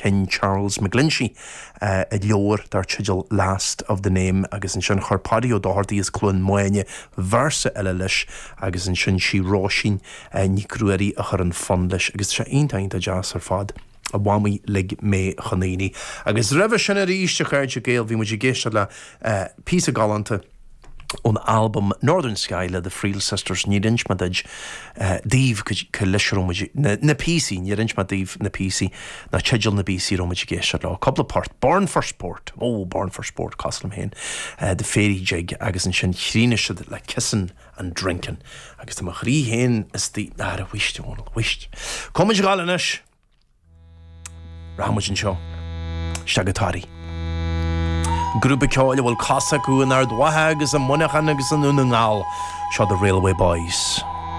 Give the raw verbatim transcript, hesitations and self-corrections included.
cinn Charles McGlinchey uh, i leabhar dar teideal Last of the Name agus ansin chuir Paddy Ó Dochartaigh as Cluain Maine véarsa eile leis agus ansin sí Róisín uh, Nic Ruairí a chuir an fonn leis agus sé iontach deas ar fad. A mhamaí lig mé chun aonaigh. Agus roimhe sin arís a chairde Gael bhí muid ag éisteacht le uh, píosa galánta ón album Northern Sky le The Friel Sisters níor inis mé duit uh, daoibh go leis na, na píosaí níor inis mé daoibh na píosaí na teidil na bpíosaí raibh muid ag éisteacht le cúpla port Born for Sport ó Born for Sport cosúil liom féin uh, The Fairy Jig agus ansin chríochnaigh siad le Kissin and Drinkin agus tá mo chroí féin is tí ná a wist wist. Comid gáil anois Ramuid anseo isteach go Toraigh. Grúpa ceoil a bhfuil cosa acu in Ard Mhacha agus i Muineachán agus i nDún na nGall seo The Railway Boys.